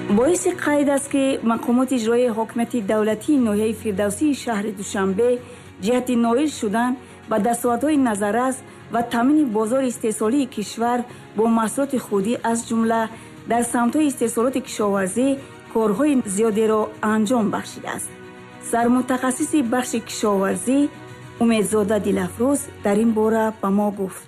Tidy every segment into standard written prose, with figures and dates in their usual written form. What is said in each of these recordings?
Боиси қайд аст, ки мақомоти иҷроияи ҳокимияти давлатии ноҳияи Фирдавсии шаҳри Душанбе ҷиҳати ноил шудан ба дастовардҳои назаррас ва таъмини бозори истеҳсолии кишвар бо маҳсулоти худӣ, аз ҷумла дар самтҳои истеҳсолоти кишоварзӣ, корҳои зиёдеро анҷом бахшидааст. Сармутахассиси бахши кишоварзӣ Умедзода Дилафрӯз дар ин бора ба мо гуфт.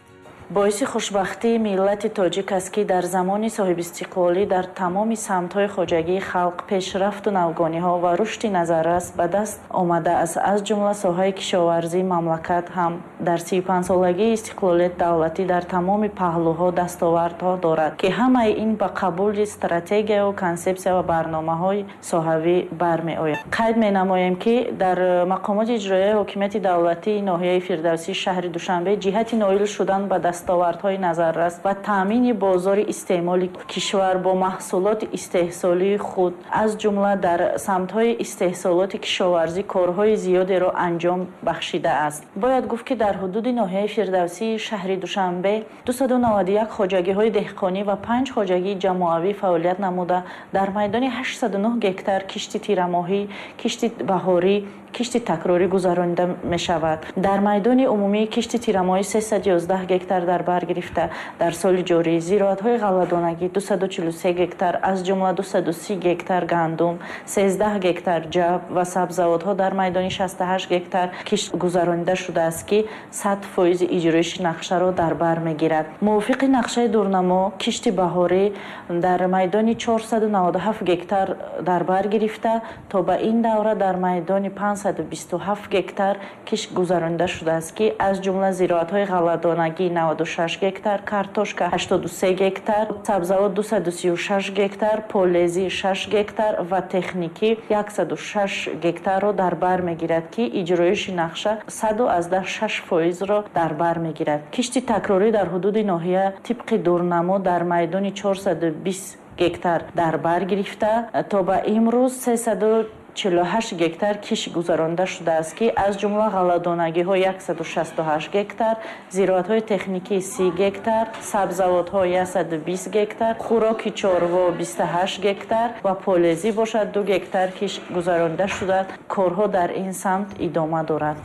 Боиси хушбахтии миллати тоҷик аст, ки дар замони соҳибистиқлолӣ дар тамоми самтҳои хоҷагии халқ пешрафту навгониҳо ва рушди назаррас ба даст омадааст. Аз ҷумла соҳаи кишоварзии мамлакат ҳам дар 35-солагии истиқлолияти давлатӣ дар тамоми паҳлӯҳо дастовардҳо дорад, ки ҳамаи ин ба қабули стратегияю консепсия ва барномаҳои соҳавӣ бармеояд. Қайд менамоем, ки дар мақомоти иҷроияи ҳокимияти давлатии ноҳияи Фирдавсии шаҳри Душанбе ҷиҳати ноил шудан ба дастовардҳои назаррас ва таъмини бозори истеъмоли кишвар бо маҳсулоти истеҳсолии худ, аз ҷумла дар самтҳои истеҳсолоти кишоварзӣ, корҳои зиёдеро анҷом бахшидааст. Бояд гуфт, ки дар ҳудуди ноҳияи Фирдавсии шаҳри Душанбе 291 хоҷагиҳои деҳқонӣ ва 5 хоҷагии ҷамоавӣ фаъолият намуда, дар майдони 809 гектар кишти тирамоҳӣ, кишти баҳорӣ, кишти такрорӣ гузаронида мешавад. Дар майдони умумии кишти тирамоҳӣ 311 гектар дар бар гирифта, дар соли ҷорӣ зироатҳои ғалладонагӣ 243 гектар, аз ҷумла 230 гектар гандум, 13 гектар ҷав ва сабзавотҳо дар майдони 68 гектар кишт гузаронида шудааст, ки 100% иҷроиши нақшаро дар бар мегирад. Мувофиқи нақшаи дурнамо, кишти баҳорӣ дар майдони 497 гектар дар бар гирифта, то ба ин давра дар майдони 527 гектар кишт гузаронида шудааст, ки аз ҷумла зироатҳои ғалладонагӣ 96 гектар, картошка 83 гектар, сабзавот 236 гектар, полезӣ 6 гектар ва техникӣ 106 гектарро дар бар мегирад, ки иҷроиши нақша 106%-ро дар бар мегирад. Кишти такрорӣ дар ҳудуди ноҳия тибқи дурнамо дар майдони 420 гектар дар бар гирифта, то ба имрӯз 348 гектар кишт гузаронида шудааст, ки аз ҷумла ғалладонагиҳо 168 гектар, зироатҳои техникӣ 30 гектар, сабзавотҳо 120 гектар, хӯроки чорво 28 гектар ва полезӣ бошад 2 гектар кишт гузаронида шудааст. Корҳо дар ин самт идома дорад.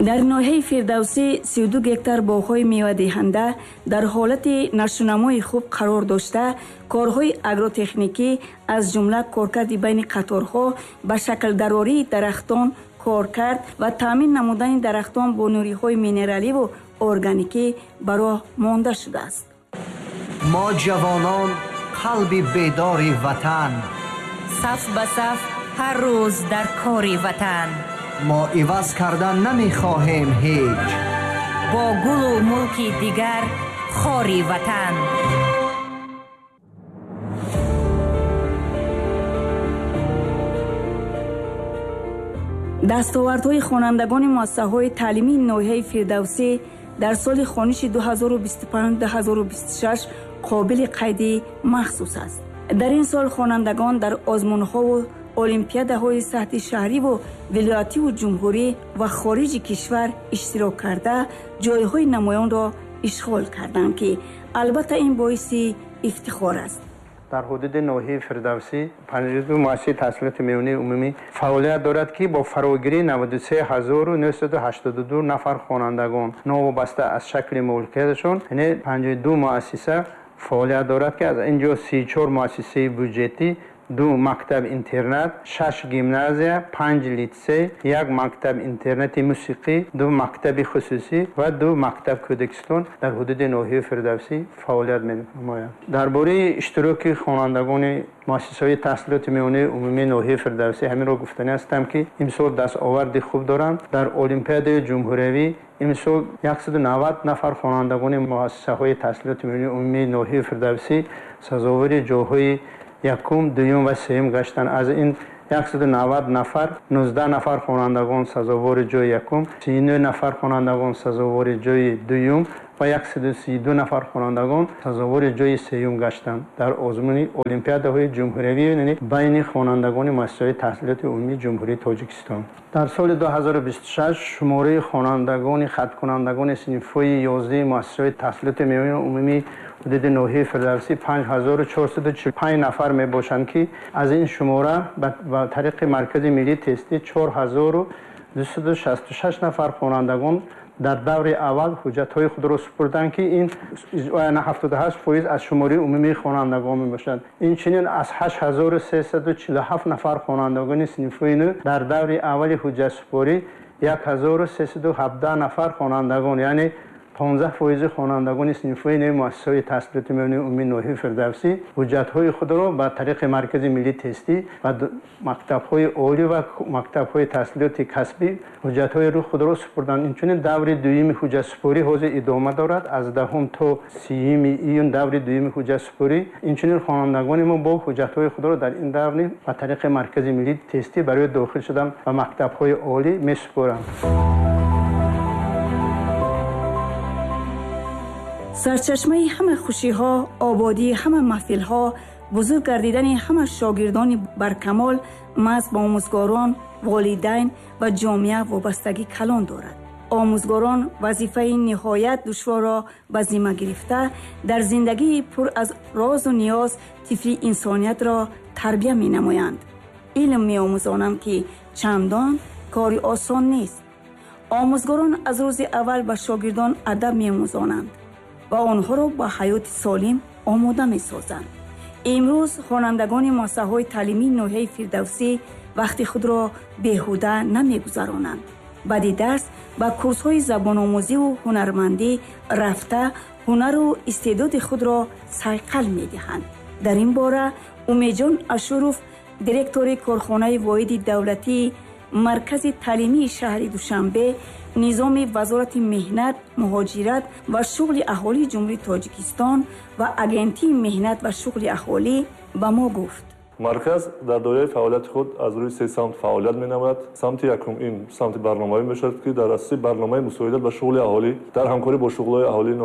Дар ноҳияи Фирдавсӣ 32 гектар боғҳои мевадиҳанда дар ҳолати нашунамои хуб қарор дошта, корҳои агротехникӣ, аз ҷумла коркарди байни қаторҳо, ба шаклдарории дарахтон, коркард ва таъмин намудани дарахтон бо нуриҳои минераливу органикӣ ба роҳ монда шудааст. Мо ҷавонон, қалби бедори ватан, саф ба саф ҳар рӯз дар кори ватан. Мо иваз кардан намехоҳем ҳеҷ бо гулу мулки дигар хори ватан. Дастовардҳои хонандагони муассисаҳои таълимии ноҳияи Фирдавсӣ дар соли хониши 2025-2026 қобили қайди махсус аст. Дар ин сол хонандагон дар озмунҳову олимпиадаҳои сатҳи шаҳриву вилоятиву ҷумҳурӣ ва хориҷи кишвар иштирок карда, ҷойҳои намоёнро ишғол карданд, ки албатта ин боиси ифтихор аст. Дар ҳудуди ноҳияи Фирдавсӣ 52 муассисаи таҳсилоти миёнаи умумӣ фаъолият дорад, ки бо фарогирии 93 982 нафар хонандагон, новобаста аз шакли моликияташон, яъне 52 муассиса фаъолият дорад, ки аз ин ҷо 34 муассисаи бюҷетӣ, ду мактаб интернат, шаш гимназия, панҷ литсей, як мактаб интернати мусиқӣ, ду мактаби хусусӣ ва ду мактаб кӯдакистон дар ҳудуди ноҳияи Фирдавсӣ фаъолият менамояд. Дар бораи иштироки хонандагони муассисаҳои таҳсилоти миёнаи умумии ноҳияи Фирдавсӣ ҳаминро гуфтанӣ ҳастам, ки имсол дастоварди хуб доранд. Дар олимпиадаи ҷумҳуриявӣ имсол 190 нафар хонандагони муассисаҳои таҳсилоти миёнаи умумии ноҳияи Фирдавсӣ сазовори ҷойҳои якум, дуюм ва сеюм гаштанд. Аз ин 190 нафар, 19 нафар хонандагон сазовори ҷои якум, 39 нафар хонандагон сазовори ҷои дуюм ва 132 нафар хонандагон сазовори ҷои сеюм гаштанд дар озмуни олимпиадаҳои ҷумҳуриявӣ, яъне байни хонандагони муассисаҳои таҳсилоти умумии Ҷумҳурии Тоҷикистон. Дар соли 2026 шумораи хонандагони хаткунандагони синфҳои 11 муассисаҳои таҳсилоти миёнаи умумии ҳудуди ноҳияи Фирдавсӣ 5445 нафар мебошанд, ки аз ин шумора ба тариқи Маркази миллии тестӣ 4266 нафар хонандагон дар даври аввал ҳуҷҷатҳои худро супурданд, ки ин 78% аз шумораи умумии хонандагон мебошад. Инчунин аз 8347 нафар хонандагони синфҳои 9 дар даври аввали ҳуҷҷатсупорӣ 1317 нафар хонандагон, яъне 15% хонандагони синфҳои 9 муассисаҳои таҳсилоти миёнаи умумии ноҳияи Фирдавсӣ ҳуҷҷатҳои худро ба тариқи Маркази миллии тестӣ ва мактабҳои олӣ ва мактабҳои таҳсилоти касбӣ ҳуҷҷатҳои худро супурданд. Инчунин даври дуюми ҳуҷҷатсупорӣ ҳозир идома дорад, аз 10 то 30 июн даври дуюми ҳуҷҷатсупорӣ. Инчунин хонандагони мо бо ҳуҷҷатҳои худро дар ин давр ба тариқи Маркази миллии тестӣ барои дохил шудан ба мактабҳои олӣ месупоранд. Сарчашмаи ҳама хушиҳо, ободии ҳама маҳфилҳо, бузург гардидани ҳама шогирдони баркамол маҳз ба омӯзгорон, волидайн ва ҷомеа вобастагӣ калон дорад. Омӯзгорон вазифаи ниҳоят душворро ба зимма гирифта, дар зиндагии пур аз розу ниёз тифли инсониятро тарбия менамоянд. Илм меомӯзонанд, ки чандон кори осон нест. Омӯзгорон аз рӯзи аввал ба шогирдон адаб меомӯзонанд ва онҳоро ба ҳаёти солим омода месозанд. Имрӯз хонандагони муассисаҳои таълимии ноҳияи Фирдавсӣ вақти худро беҳуда намегузаронанд. Баъди дарс ба курсҳои забономӯзиву ҳунармандӣ рафта, ҳунару истеъдоди худро сайқал медиҳанд. Дар ин бора Умедҷон Ашуров, директори корхонаи воҳиди давлатии Маркази таълимии шаҳри Душанбе, низоми Вазорати меҳнат, муҳоҷират ва шуғли аҳолии Ҷумҳурии Тоҷикистон ва Агентии меҳнат ва шуғли аҳолӣ ба мо гуфт. Марказ дар доираи фаъолияти худ аз рӯи се самт фаъолият менамояд. Самти якум ин самти барномавӣ мешавад, ки дар асоси барномаи мусоидат ба шуғли аҳолӣ дар ҳамкорӣ бо шуғлҳои аҳолии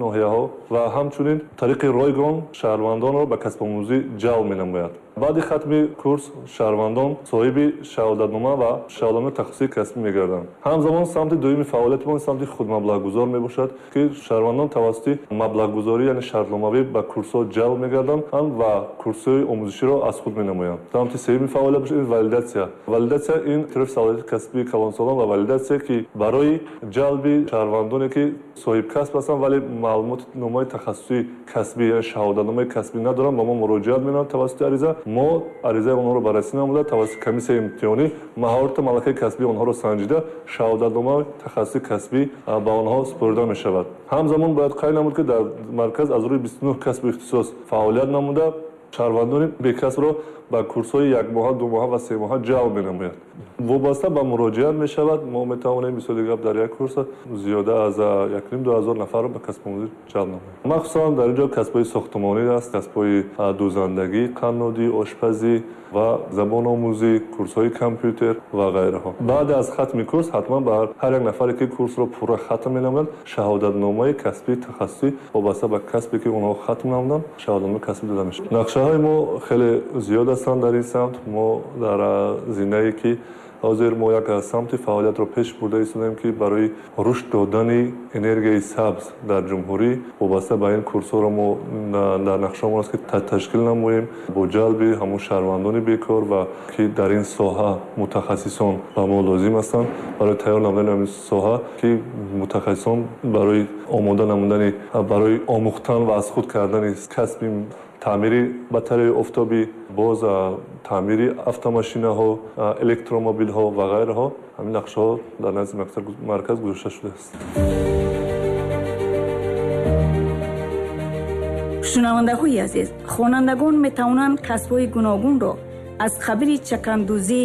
ноҳияҳо ва ҳамчунин тариқи ройгон шаҳрвандонро ба касбомӯзӣ ҷалб менамояд. Баъди хатми курс шаҳрвандон соҳиби шаҳодатнома ва шаҳодатномаи тахассусии касбӣ мегарданд. Ҳамзамон самти дуюми фаъолияти мо самти худмаблағгузор мебошад, ки шаҳрвандон тавассути маблағгузорӣ, яъне шартномавӣ ба курсҳо ҷалб мегарданд ва курсҳои омӯзиширо аз худ менамоянд. Самти сеюми фаъолият бошад ин валидатсия. Валидатсия ин эътирофи салоҳияти касбии калонсолон ва валидатсия, ки барои ҷалби шаҳрвандоне, ки соҳибкасб ҳастанд, вале маълумотномаи тахассусии касбӣ, яъне шаҳодатномаи касбӣ надоранд, ба мо муроҷиат менамоянд тавассути ариза. Мо аризаи онҳоро баррасӣ намуда, тавассути комиссияи имтиҳонӣ маҳорату малакаи касбии онҳоро санҷида, шаҳодатномаи тахассусии касбӣ ба онҳо супорида мешавад. Ҳамзамон бояд қайд намуд, ки дар марказ аз рӯи 29 касбу ихтисос фаъолият намуда, шаҳрвандони бекасбро ба курсҳои якмоҳа, думоҳа ва семоҳа ҷалб менамояд. Вобаста ба муроҷиат мешавад, мо метавонем мисоли гап дар як курс зиёда аз 1,5-2 ҳазор нафарро ба касбомӯзӣ ҷалб намоем. Махсусан дар ин ҷо касбҳои сохтмонӣ аст, касбҳои дӯзандагӣ, қаннодӣ, ошпазӣ ва забономӯзӣ, курсҳои компютер ва ғайраҳо. Баъд аз хатми курс ҳатман ба ҳар як нафаре, ки курсро пурра хатм менамояд, шаҳодатномаи касбии тахассусӣ вобаста ба касбе, ки онҳо хатм намуданд, шаҳодатномаи касбӣ дода мешавад. Нақшаҳои мо хеле зиёд ҳастанд дар ин самт. Мо дар зинае, ки ҳозир мо як самти фаъолиятро пеш бурда истодаем, ки барои рушд додани энергияи сабз дар ҷумҳурӣ вобаста ба ин курсҳоро мо дар нақшаамон аст, ки ташкил намоем бо ҷалби ҳамон шаҳрвандони бекор ва ки дар ин соҳа мутахассисон ба мо лозим ҳастанд барои тайёр намудани ҳамин соҳа, ки мутахассисон барои омода намудани, барои омӯхтан ва аз худ кардани касби таъмири батареяи офтобӣ, боз таъмири автомошинаҳо, электромобилҳо ва ғайраҳо, ҳамин нақшаҳо дар назди марказ гузошта шудааст. Шунавандаҳои азиз, хонандагон метавонанд касбҳои гуногунро аз қабили чакандӯзӣ,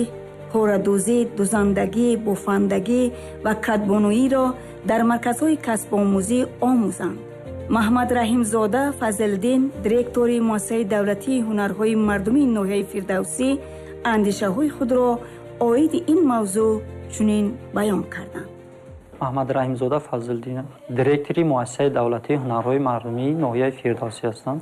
порадӯзӣ, дӯзандагӣ, бофандагӣ ва кадбонуиро дар марказҳои касбомӯзӣ омӯзанд. Маҳмад Раҳимзода Фазлиддин, директори муассисаи давлатии ҳунарҳои мардумии ноҳияи Фирдавсӣ, Андешаҳои худро оиди ин мавзӯъ чунин баён карданд. Маҳмад Раҳимзода Фазлиддин, директори муассисаи давлатии ҳунарҳои мардумии ноҳияи Фирдавсӣ ҳастам.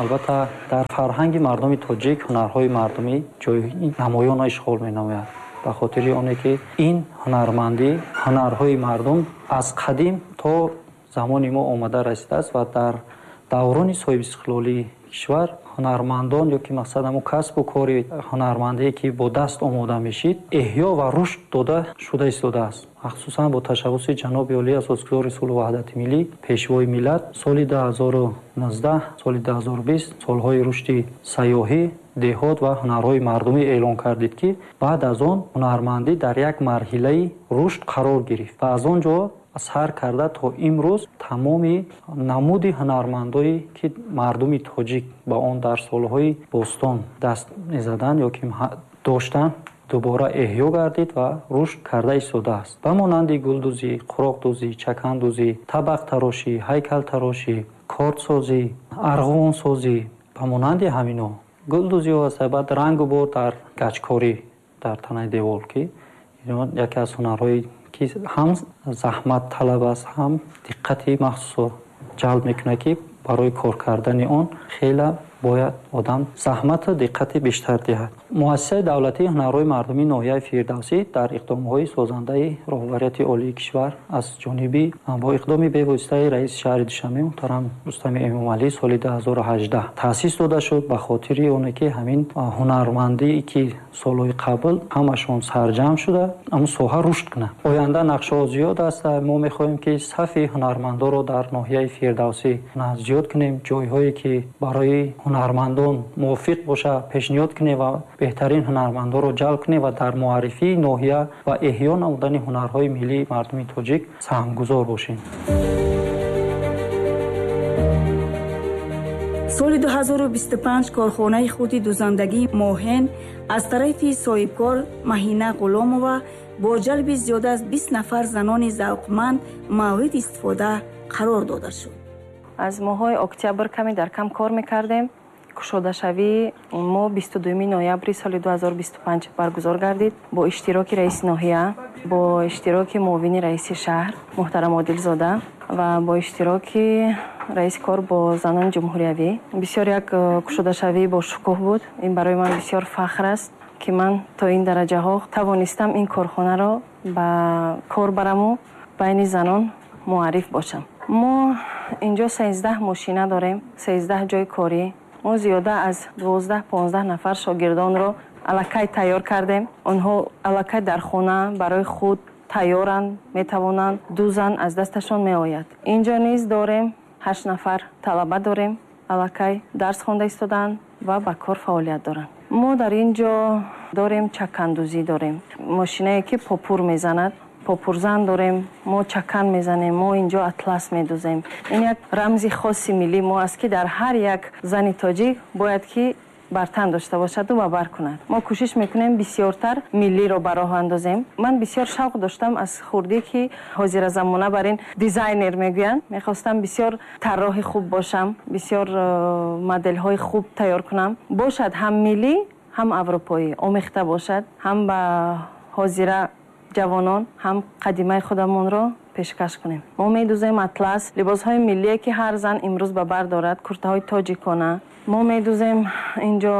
Албатта, дар фарҳанги мардуми тоҷик ҳунарҳои мардумӣ ҷои намоёнро ишғол менамояд, ба хотири оне ки ин ҳунармандӣ, ҳунарҳои мардум аз қадим то замони мо омада расидааст ва дар даврони соҳибистиқлолии кишвар ҳунармандон ё ки мақсад ҳамун касбу кори ҳунармандие ки бо даст омода мешид, эҳё ва рушд дода шуда истодааст. Махсусан бо ташаббуси ҷаноби олӣ, асосгузори сулҳу ваҳдати миллӣ, пешвои миллат, соли 2019, соли 2020 солҳои рушди сайёҳӣ, деҳот ва ҳунарҳои мардумӣ эълон кардид, ки баъд аз он ҳунармандӣ дар як марҳилаи рушд қарор гирифт ва аз он ҷо сар карда то имрӯз тамоми намуди ҳунармандое ки мардуми тоҷик ба он дар солҳои бостон даст мезаданд ё ки доштанд, дубора эҳё гардид ва рушд карда истодааст, ба монанди гулдӯзӣ, қуроқдӯзӣ, чакандӯзӣ, табақтарошӣ, ҳайкалтарошӣ, кордсозӣ, арғувонсозӣ, ба монанди ҳамино гулдӯзиҳо аст. Баъд рангу бор дар гачкорӣ дар танаи девол, ки яке аз ҳунарҳои ки ҳам заҳматталаб аст, ҳам диққати махсусро ҷалб мекунад, ки барои кор кардани он хеле бояд одам заҳмату диққати бештар диҳад. Муассисаи давлатии ҳунарҳои мардумии ноҳияи Фирдавсӣ дар иқдомҳои созандаи роҳбарияти олии кишвар аз ҷониби бо иқдоми бевоситаи раиси шаҳри Душанбе муҳтарам Рустами Эмомалӣ соли 2018 таъсис дода шуд, ба хотири оне ки ҳамин ҳунармандие ки солҳои қабл ҳамашон сарҷамъ шуда, ҳамун соҳа рушд кунад. Оянда нақшаҳо зиёд аст. Мо мехоҳем ки сафи ҳунармандоро дар ноҳияи Фирдавсӣ зиёд кунем, ҷойҳое ки барои ҳунармандон мувофиқ бошад пешниҳод кунем ва беҳтарин ҳунармандонро ҷалб кунем ва дар муаррифии ноҳия ва эҳё намудани ҳунарҳои миллии мардуми тоҷик саҳмгузор бошем. Соли 2025 корхонаи хурди дузандагии Моҳен аз тарафи соҳибкор Маҳина Ғуломова бо ҷалби зиёда аз 20 нафар занони завқманд мавриди истифода қарор дода шуд. Аз моҳҳои октябр каме дар кам кор мекардем. Кушодашавии мо 22 ноябри соли 2025 баргузор гардид бо иштироки раиси ноҳия, бо иштироки муовини раиси шаҳр муҳтарам Одилзода ва бо иштироки раиси кор бо занони ҷумҳуриявӣ. Бисёр як кушодашавӣ бо шукӯҳ буд. Ин барои ман бисёр фахр аст, ки ман то ин дараҷаҳо тавонистам ин корхонаро ба кор бараму байни занон муарриф бошам. Мо инҷо 13 мошина дорем, 13 ҷои корӣ. Мо зиёда аз 12-15 нафар шогирдонро аллакай тайёр кардем. Онҳо аллакай дар хона барои худ тайёранд, метавонанд дузан, аз дасташон меояд. Инҷо низ дорем 8 нафар талаба дорем, аллакай дарс хонда истодаанд ва ба кор фаъолият доранд. Мо дар ин ҷо дорем чакандӯзӣ дорем, мошинае ки попур мезанад, попурзан дорем, мо чакан мезанем, мо инҷо атлас медузем. Ин як рамзи хоси миллии мо аст, ки дар ҳар як зани тоҷик бояд ки бар тан дошта бошаду ва бар кунад. Мо кӯшиш мекунем бисёртар миллиро ба роҳ андозем. Ман бисёр шавқ доштам аз хурдӣ, ки ҳозира замона бар ин дизайнер мегӯянд. Мехостам бисёр тарроҳи хуб бошам, бисёр моделҳои хуб тайёр кунам. Бошад ҳам миллӣ, ҳам аврупоӣ, омехта бошад, ҳам ба ҳозира ҷавонон, ҳам қадимаи худамонро пешкаш кунем. Мо медузем атлас, либосҳои миллие ки ҳар зан имрӯз ба бар дорад, куртаҳои тоҷикона. Мо медузем инҷо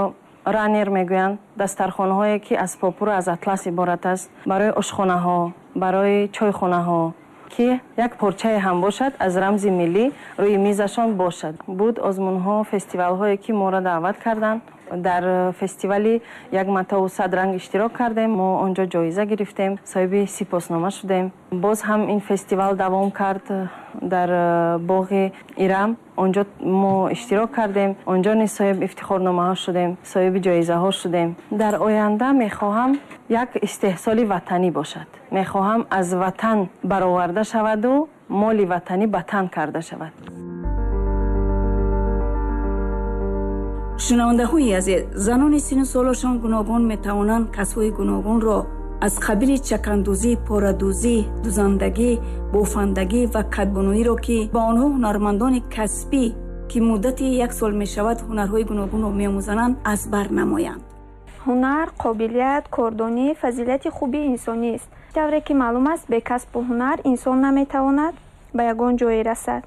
ранер мегӯянд, дастархонаҳое ки аз попуру аз атлас иборат аст, барои ошхонаҳо, барои чойхонаҳо, ки як порчае ҳам бошад аз рамзи миллӣ рӯи мизашон бошад. Буд озмунҳо, фестивалҳое ки моро даъват карданд. Дар фестивали як матову сад ранг иштирок кардем, мо он ҷо ҷоиза гирифтем, соҳиби сипоснома шудем. Боз ҳам ин фестивал давом кард дар боғи Ирам, он ҷо мо иштирок кардем, он ҷо низ соҳиби ифтихорномаҳо шудем, соҳиби ҷоизаҳо шудем. Дар оянда мехоҳам як истеҳсоли ватанӣ бошад, мехоҳам аз ватан бароварда шаваду моли ватанӣ ба тан карда шавад. Шунавандаҳои азиз, занони сину солашон гуногун метавонанд касбҳои гуногунро аз қабили чакандӯзӣ, порадӯзӣ, дузандагӣ, бофандагӣ ва кадбонуиро, ки ба онҳо ҳунармандони касбӣ, ки муддати як сол мешавад ҳунарҳои гуногунро меомӯзананд, аз бар намоянд. Ҳунар, қобилият, кордонӣ фазилати хуби инсонист. Тавре ки маълум аст, бе касбу ҳунар инсон наметавонад ба ягон ҷое расад.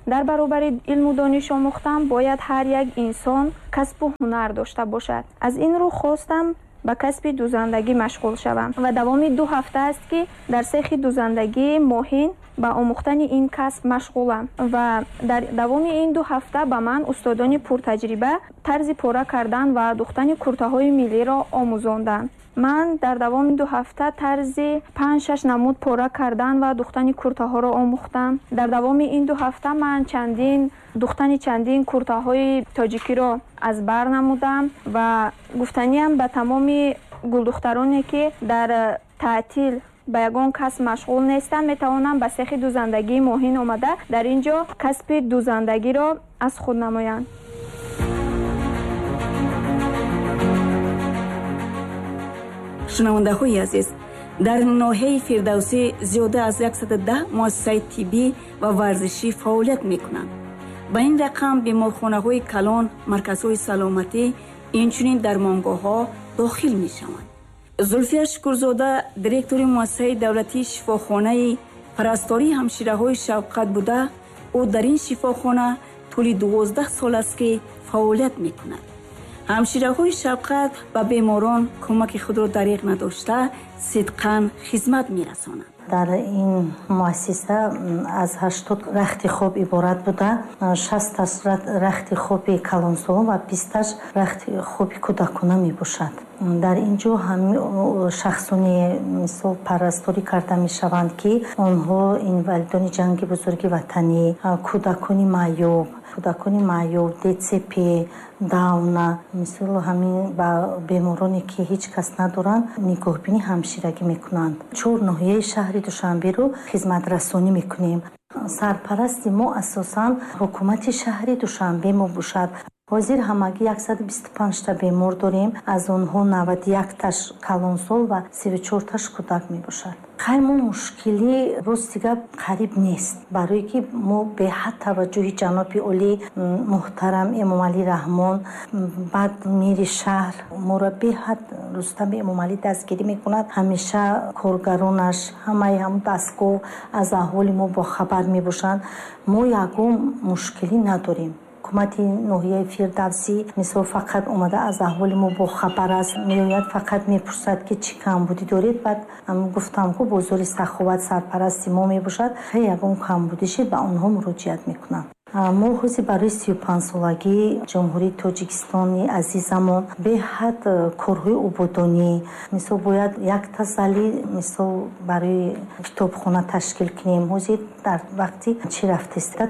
Дар баробари илму дониш омӯхтан бояд ҳар як инсон касбу ҳунар дошта бошад. Аз ин рӯ хостам ба касби дузандагӣ машғул шавам ва давоми 2 ҳафта аст, ки дар сехи дузандагии Моҳин ба омӯхтани ин касб машғулам ва дар давоми ин 2 ҳафта ба ман устодони пуртаҷриба тарзи пора кардан ва духтани куртаҳои миллиро омӯзонданд. Ман дар давоми 2 ҳафта тарзи 5-6 намуд пора кардан ва духтани куртаҳоро омӯхтам. Дар давоми ин 2 ҳафта ман духтани чандин куртаҳои тоҷикиро аз бар намудам ва гуфтаниам ба тамоми гулдухтароне, ки дар таътил ба ягон касб машғул нестанд, метавонанд ба сехи дузандагии Моҳин омада дар ин ҷо касби дузандагиро аз худ намоянд. Шунавандаҳои азиз, дар ноҳияи Фирдавсӣ зиёда аз 110 муассисаи тиббӣ ва варзишӣ фаъолият мекунанд. Ба ин рақам беморхонаҳои калон, марказҳои саломатӣ, инчунин дармонгоҳҳо дохил мешаванд. Зулфия Шукурзода, директори муассисаи давлатии шифохонаи парастории ҳамшираҳои Шавқат буда, ӯ дар ин шифохона тӯли 12 сол аст, ки фаъолият мекунад. Ҳамшираҳои Шавқат ба беморон кӯмаки худро дариғ надошта, сидқан хизмат мерасонанд. Дар ин муассиса аз 80 рахти хоб иборат буда, 60 рахти хоби калонсолон ва 20 рахти хоби кӯдакона мебошад. Дар ин ҷо шахсоне мисол парасторӣ карда мешаванд, ки онҳо инвалидони ҷанги бузурги ватанӣ, кӯдакони маъюб, ДЦП, Дауна, мисол ҳамин ба бемороне, ки ҳеҷ кас надоранд, нигоҳбини ҳамширагӣ мекунанд. 4 ноҳияи шаҳри Душанберо хизматрасонӣ мекунем. Сарпарасти мо асосан ҳукумати шаҳри Душанбе мебошад. Ҳозир ҳамагӣ 125 та бемор дорем, аз онҳо 91 таш калонсол ва 34 таш кӯдак мебошад. Хай мо мушкилӣ рости гап қариб нест, барое ки мо беҳад таваҷҷӯҳи ҷаноби олӣ муҳтарам Эмомалӣ Раҳмон, баъд мери шаҳр моро беҳад Рустами Эмомалӣ дастгирӣ мекунад. Ҳамеша коргаронаш, ҳамаи ҳам дастгоҳ аз аҳволи мо бохабар мебошанд. Мо ягон мушкилӣ надорем. Ҳукумати ноҳияи Фирдавсӣ мисол фақат омада аз аҳволи мо бохабар аст, меояд фақат мепурсад, ки чӣ камбудӣ доред. Баъд гуфтам, ку бозори Саховат сарпарасти мо мебошад, ягон камбудӣ шид ба онҳо муроҷиат мекунам. Мо ҳозир барои 35-солагии Ҷумҳурии Тоҷикистони азизамон беҳад корҳои ободонӣ, мисол бояд якта зали мисол барои китобхона ташкил кунем. Ҳозир дар вақти чӣ рафтаиста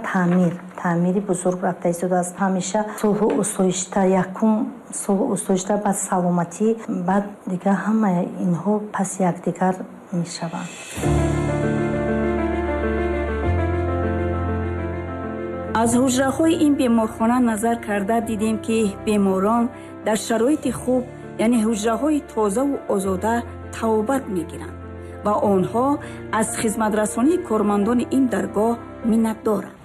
таъмири бузург рафта истодааст. Ҳамеша сулҳу осоишта, якум сулҳу осоишта, баъд саломатӣ, баъд дигар ҳамаи инҳо паси якдигар мешаванд. Аз ҳуҷраҳои ин беморхона назар карда дидем, ки беморон дар шароити хуб, яъне ҳуҷраҳои тозаву озода тавобат мегиранд ва онҳо аз хизматрасонии кормандони ин даргоҳ миннатдоранд.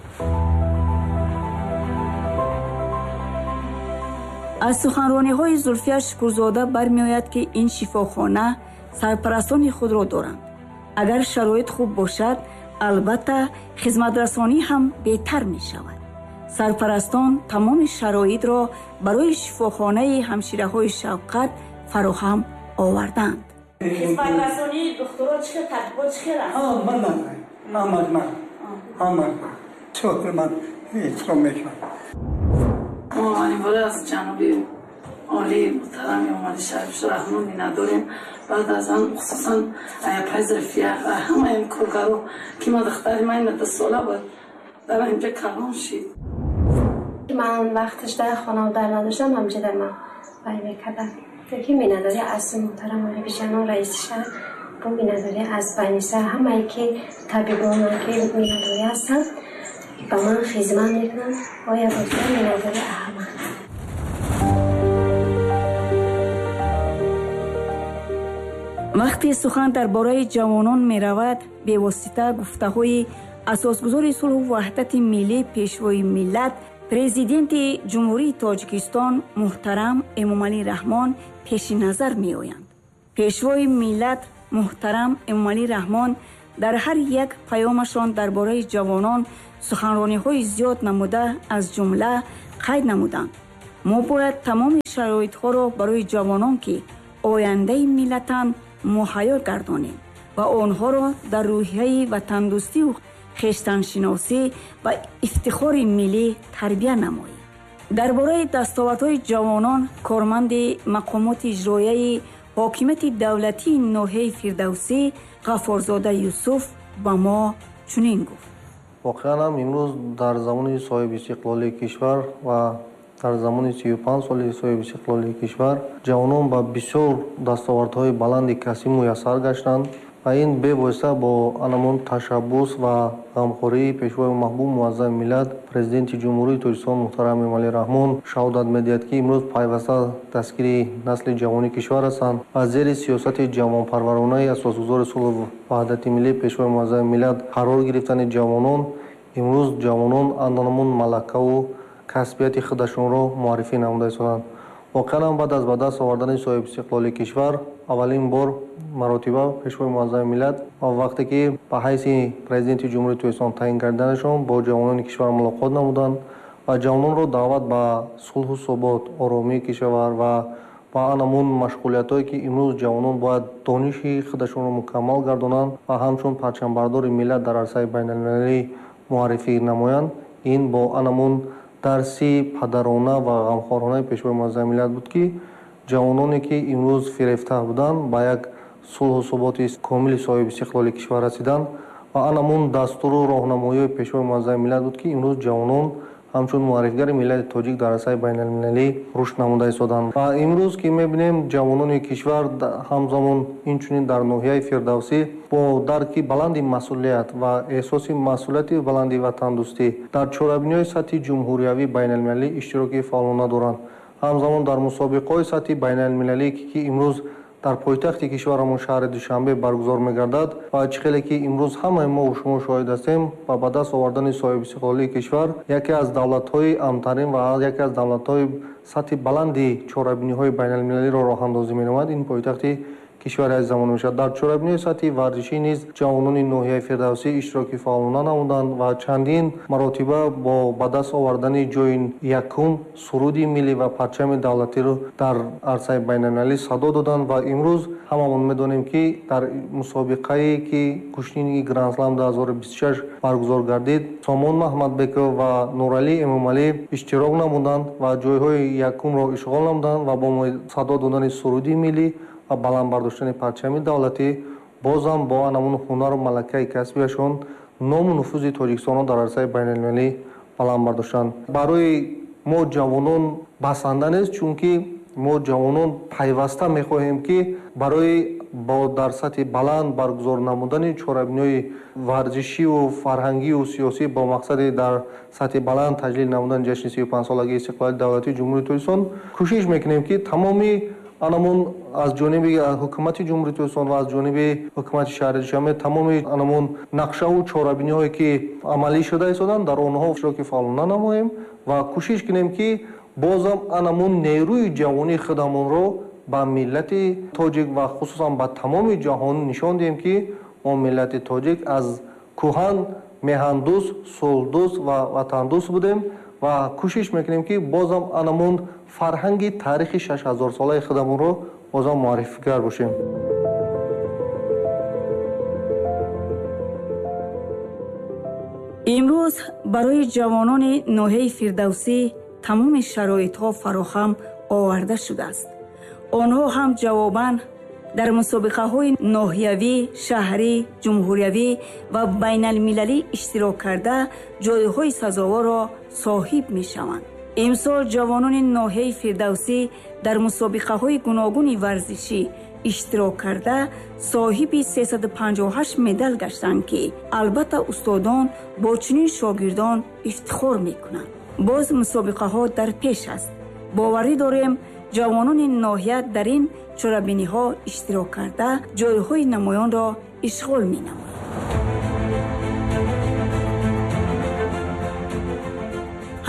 Аз суханрониҳои Зулфия Шукурзода бармеояд, ки ин шифохона сарпарастони худро доранд. Агар шароит хуб бошад, албатта хизматрасонӣ ҳам беҳтар мешавад. Сарпарастон тамоми шароитро барои шифохонаи ҳамшираҳои Шавқат фароҳам оварданд. Хизматрасонии духтуро чӣ хел, табибо чӣ хел аст? Ман эҳтиром мекунам. Мо аввалин бора аз ҷаноби олӣ муҳтарам Эмомалӣ Шариф Раҳмон миннатдорем. Баъд аз он хусусан аяпай Зулфия ва ҳамаи ин коргаро, ки ма духтари ман 2 сола буд, дар инҷа калон шид. Ман вақташ дар хона дар надоштам, ҳамҷа дар ман вай мекардам. Ки миннатдорӣ аз муҳтарам Олибиҷанон раиси шаҳр, бо миннатдорӣ аз Ваниса, ҳамае ки табибоне ки миннатдорӣ ҳастанд, ба ман хизмат мекунанд, оя бозор миннатдорӣ ҳама. Вақте сухан дар бораи ҷавонон меравад, бевосита гуфтаҳои асосгузори сулҳу ваҳдати миллӣ, пешвои миллат, Президенти Ҷумҳурии Тоҷикистон муҳтарам Эмомалӣ Раҳмон пеши назар меоянд. Пешвои миллат муҳтарам Эмомалӣ Раҳмон дар ҳар як паёмашон дар бораи ҷавонон суханрониҳои зиёд намуда, аз ҷумла қайд намуданд: мо бояд тамоми шароитҳоро барои ҷавонон, ки ояндаи миллатанд, муҳайё гардонем ва онҳоро дар рӯҳияи ватандӯстию хештаншиносӣ ва ифтихори миллӣ тарбия намоем. Дар бораи дастовардҳои ҷавонон корманди мақомоти иҷроияи ҳокимияти давлатии ноҳияи Фирдавсӣ Ғаффорзода Юсуф ба мо чунин гуфт: Воқеан ҳам имрӯз дар замони соҳибистиқлолии кишвар ва дар замони 35 соли соҳибистиқлолии кишвар ҷавонон ба бисёр дастовардҳои баланди касбӣ муяссар гаштанд ва ин бевосита бо анамон ташаббус ва ғамхории пешвои маҳбуб муаззами миллат, Президенти Ҷумҳурии Тоҷикистон муҳтарам Эмомалӣ Раҳмон шаҳодат медиҳад, ки имрӯз пайваста дастгири насли ҷавони кишвар ҳастанд ва зери сиёсати ҷавонпарваронаи асосгузори сулҳу ваҳдати миллӣ, пешвои муаззами миллат қарор гирифтани ҷавонон, имрӯз ҷавонон анамон малакаву касбияти худашонро муаррифӣ намуда истоданд. Воқеан ҳам баъд аз ба даст овардани соҳибистиқлолии кишвар аввалин бор маротиба пешвои муаззами миллат ва вақте ки ба ҳайси Президенти Ҷумҳурии Тоҷикистон таъин карданашон бо ҷавонони кишвар мулоқот намуданд ва ҷавононро даъват ба сулҳу субот, оромии кишвар ва ба анамун машғулиятҳое, ки имрӯз ҷавонон бояд дониши худашонро мукаммал гардонанд ва ҳамчун парчамбардори миллат дар арсаи байналмилалӣ муаррифӣ намоянд. Ин бо анамун дарси падарона ва ғамхоронаи пешвои муаззами миллат буд, ки ҷавононе, ки имрӯз фирефта буданд, ба як сулҳу суботи комили соҳибистиқлоли кишвар расиданд ва анамун дастуру роҳнамоиҳои пешвои муаззами миллат буд, ки имрӯз ҷавонон ҳамчун муаррифгари миллати тоҷик дар арсаи байналмилалӣ рушд намуда истоданд. Ва имрӯз ки мебинем, ҷавонони кишвар ҳамзамон инчунин дар ноҳияи Фирдавсӣ бо дарки баланди масъулият ва эҳсоси масъулияти баланди ватандӯстӣ дар чорабиниҳои сатҳи ҷумҳуриявӣ, байналмилалӣ иштироки фаъолона доранд. Ҳамзамон дар мусобиқаҳои сатҳи байналмилалӣ, ки имрӯз дар пойтахти кишварамон шаҳри Душанбе баргузор мегардад ва чӣ хеле ки имрӯз ҳамаи мо шумо шоҳид ҳастем, ба ба даст овардани соҳибистиқлолии кишвар яке аз давлатҳои амнтарин ва яке аз давлатҳои сатҳи баланди чорабиниҳои байналмилалиро роҳандозӣ менамояд, ин пойтахти кишвари азизамон мешавад. Дар чорабиниҳои сатҳи варзишӣ низ ҷавонони ноҳияи Фирдавсӣ иштироки фаъолона намуданд ва чандин маротиба бо ба даст овардани ҷои якум суруди миллӣ ва парчами давлатиро дар арсаи байналмилалӣ садо доданд. Ва имрӯз ҳамамон медонем, ки дар мусобиқае, ки гӯштини Гранд-слам 2026 баргузор гардид, Сомон Маҳмадбеков ва Нуралӣ Эмомалӣ иштирок намуданд ва ҷойҳои якумро ишғол намуданд ва бо садо додани суруди миллӣ ва баланд бардоштани парчами давлатӣ бозам бо анамун ҳунару малакаи касбияшон ному нуфузи Тоҷикистонро дар арсаи байналмилалӣ баланд бардоштанд. Барои мо ҷавонон басанда нест, чунки мо ҷавонон пайваста мехоҳем, ки барои бо дар сатҳи баланд баргузор намудани чорабиниҳои варзишиву фарҳангию сиёсӣ бо мақсади дар сатҳи баланд таҷлил намудани ҷашни 35-солагии истиқлолияти давлатии Ҷумҳурии Тоҷикистон кӯшиш мекунем, ки тамоми анамун аз ҷониби ҳукумати Ҷумҳурии Тоҷикистон ва аз ҷониби ҳукумати шаҳри Душанбе тамоми анамун нақшаву чорабиниҳое, ки амалӣ шуда истоданд, дар онҳо иштироки фаъолона намоем ва кӯшиш кунем, ки бозам анамун нерӯи ҷавонии худамонро ба миллати тоҷик ва хусусан ба тамоми ҷаҳон нишон диҳем, ки мо миллати тоҷик аз кӯҳан меҳандӯст, сулҳдӯст ва ватандӯст будем ва кӯшиш мекунем, ки бозам анамун фарҳанги таърихи 6000-солаи худамонро бозам муаррифигар бошем. Имрӯз барои ҷавонони ноҳияи Фирдавсӣ тамоми шароитҳо фароҳам оварда шудааст. Онҳо ҳам ҷавобан дар мусобиқаҳои ноҳиявӣ, шаҳрӣ, ҷумҳуриявӣ ва байналмилалӣ иштирок карда ҷойҳои сазоворро соҳиб мешаванд. Имсол ҷавонони ноҳияи Фирдавсӣ дар мусобиқаҳои гуногуни варзишӣ иштирок карда соҳиби 358 медал гаштанд, ки албатта устодон бо чунин шогирдон ифтихор мекунанд. Боз мусобиқаҳо дар пеш аст. Боварӣ дорем, ҷавонони ноҳия дар ин чорабиниҳо иштирок карда ҷойҳои намоёнро ишғол менамоянд.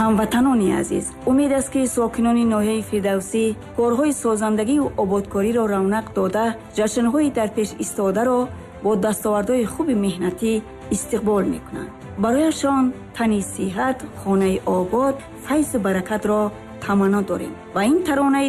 Ҳамватанони азиз, умед аст, ки сокинони ноҳияи Фирдавсӣ корҳои созандагию ободкориро равнақ дода, ҷашнҳои дар пеш истодаро бо дастовардҳои хуби меҳнатӣ истиқбол мекунанд. Барояшон тани сиҳат, хонаи обод, файзу баракатро таманно дорем ва ин таронаи